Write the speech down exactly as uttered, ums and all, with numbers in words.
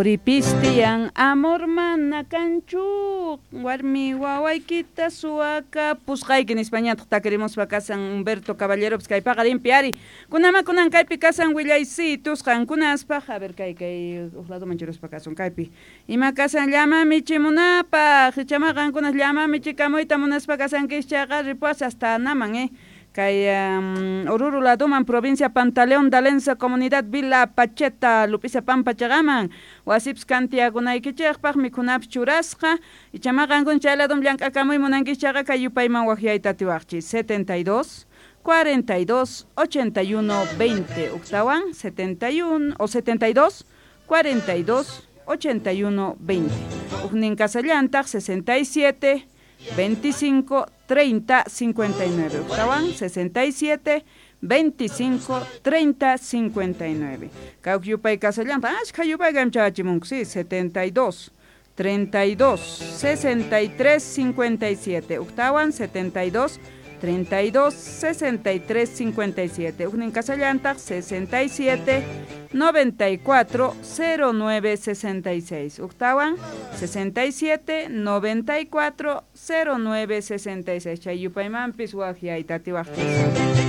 Qoripis tiyan, amor mana kanchu, warmi wawaykita suwakapusqayki nispañataq takirimuspa kasan Humberto Caballeropis kay paqarinpi ari. Kunama kunan kaypi kasan willaysitus qankunaspaq, a ver, kay kay uq ladoman churaspa kasun kaypi. Ima kasan llama michimunapaq, ichama qankunas llama michikamuyta munaspa kasankis chayqa ripuas hasta naman, eh. Kay um, Oruro ladoman, provincia Pantaleón Dalense, comunidad Villa Pacheta, Lupisa Pampa chaqaman, wasipis kantiyakunaykichikpaq mikhunapis churasqa, ichama qankuna chay ladom llank'akamuy munankis chayqa kay yupayman waqyayta atiwaqchis setenta y dos cuarenta y dos ochenta y uno veinte, uktawan setenta y uno o setenta y dos cuarenta y dos ochenta y uno veinte, uknin kasallantaq sesenta y siete veinticinco treinta cincuenta y nueve, uktawan sesenta y siete veinticinco treinta cincuenta y nueve. Kay yupay kasallantaq, ashkha yupay kaymi chayachimunku, sí, setenta y dos treinta y dos sesenta y tres cincuenta y siete, uktawan setenta y dos treinta y dos sesenta y tres cincuenta y siete, uknin kasallantaq sesenta y siete noventa y cuatro cero nueve sesenta y seis, uktawan sesenta y siete noventa y cuatro cero nueve sesenta y seis. Chay yupaymanpis waqyayta atiwaqchis.